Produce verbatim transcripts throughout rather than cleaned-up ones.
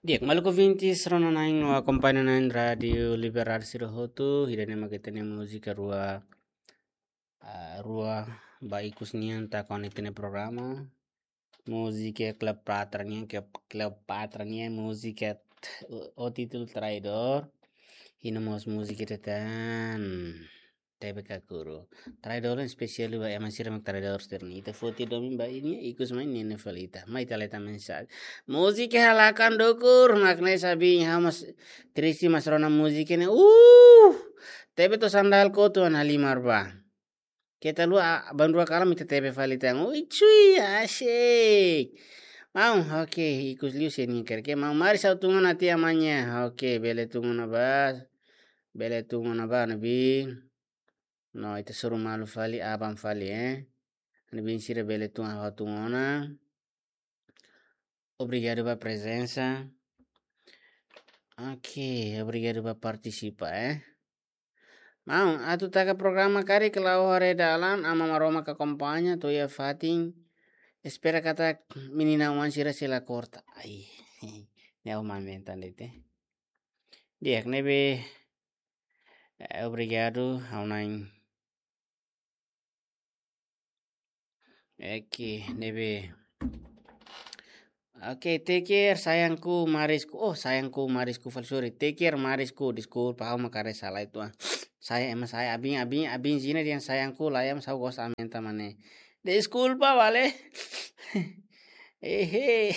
Di'ak, maluk ouvintes rona-na'in no akompaña na'in Rádiu Liberdade sira hotu, ida-ne'e mak ita-nia múzika rua, ah, rua ba ikus nian taka ona iha ita-nia programa. Múzika Cleopatra nian, ke Cleopatra nian múzika t-, o, o título Traidor. I no mós múzika tentang T V Kakuru. Traidor ne'e espesiál ba ema sira mak traidór sira-ne'e. Ita foti domin ba nia ikus mai ne'e fali ita. Mai ita leta mensajen. Múzika halakan dukur, mak ne'e sabin, ha'u mós triste mas rona múzika ne'e. Uh! T V to'o sandal kotu halimar ba. Keta haluha, a, banrua kalan ita T V fali tan. Ui, cui, asik. Maun, oke, ikus liu se nia karik. Maun, mari ha'u tun ona tiha amanhã. Oke, bele tun ona ba. Bele tun ona ba, ne'ebé. No, ita hasoru malu fali, aban fali, eh. Ne'ebé sira bele tun, ha'u tun ona. Obrigadu ba prezensa. Oke, obrigadu ba partisipa, eh. Maun, atu taka programa karik la'o haree dalan, Aman Maromak akompaña, to'o iha fatin. Espera katak menina oan sira sei la korta. Ai, ne'e ha'u mak mentan de'it. Di'ak ne'ebé, eh, obrigadu, ha'u-nia. Oke, ne'ebé. Oke, take care, sayangku, marisku. Oh, sayangku, marisku, fal, sorry. Take care, marisku. Deskulpa, ha'u mak haree sala itu, ah. Saya, ema saya, abin, abin, abin, zina dengan sayangku, layam, saya gos amen tamane. Deskulpa, vale? Ehe.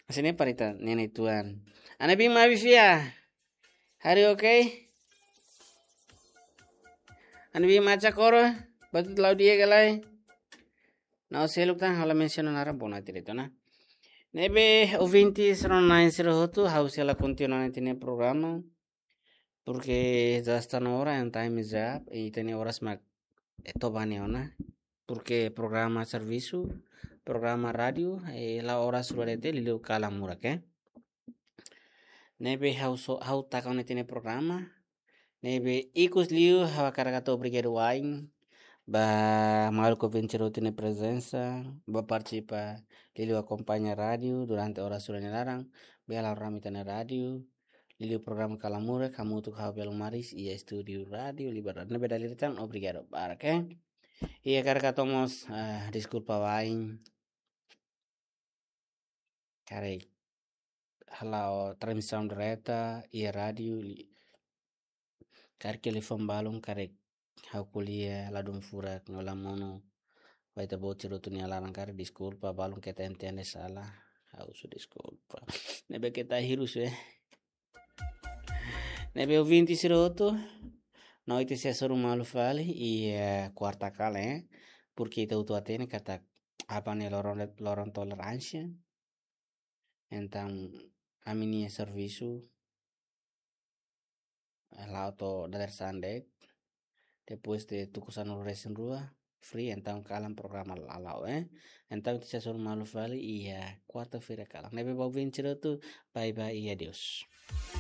Sini parita, nenek tuan. Ana bin mabi fia. Hari oke? Ana bin maca koro, batu telau dia galai. Na'o seluk tan ha'u la mensiona naran bona tirito na. Ne'ebé ouvintes rona-na'in sira hotu, ha'u sei la kontinua ona ita-nia programa. Porque já está na hora, and time is up, i ita-nia oras mak, eh, toba ne'e ona. Porque programa servisu, programa rádiu, eh, la'o oras rua de'it liuliu kalan murak, eh. Ne'ebé ha'u so, ha'u taka ona ita-nia programa. Ne'ebé ikus liu ha'u hakarak hato'o obrigadu wa'in ba maluk ouvinte sira hotu nia prezensa, ba partisipa, liuliu akompaña rádiu durante oras rua nia laran, bele rona ami ita-nia rádiu, liuliu programa kalan murak, hamutuk ho ha'u Belo Maris, iha estúdiu Rádiu Liberdade. Ne'ebé dala ida tan, obrigadu barak, eh. I hakarak hato'o mós, ah, deskulpa wa'in. Karik hala'o transmisaun direta iha rádiu li-, karik telefone balun, karik ha'u ko'alia ladún furak no la monu. Ba ita-boot sira hotu nia laran karik deskulpa, balun keta entende sala. Ha'u husu deskulpa. Ne'ebé keta hirus, eh. Ne'ebé ouvinte sira hotu, no ita sei hasoru malu fali iha, eh, kuarta kalan, eh. Porque ita hotu hatene katak Aban ne'e loron, loron toleránsia. Entaun, ami-nia servisu, eh, la'o to'o dadeer-saan de'it. Depois de tuku sanulu-resin-rua, free, entaun kalan programa la la'o, eh. Entaun, ita sei hasoru malu fali iha kuarta-feira kalan. Ne'ebé ba ouvinte sira hotu, bye bye, i adeus.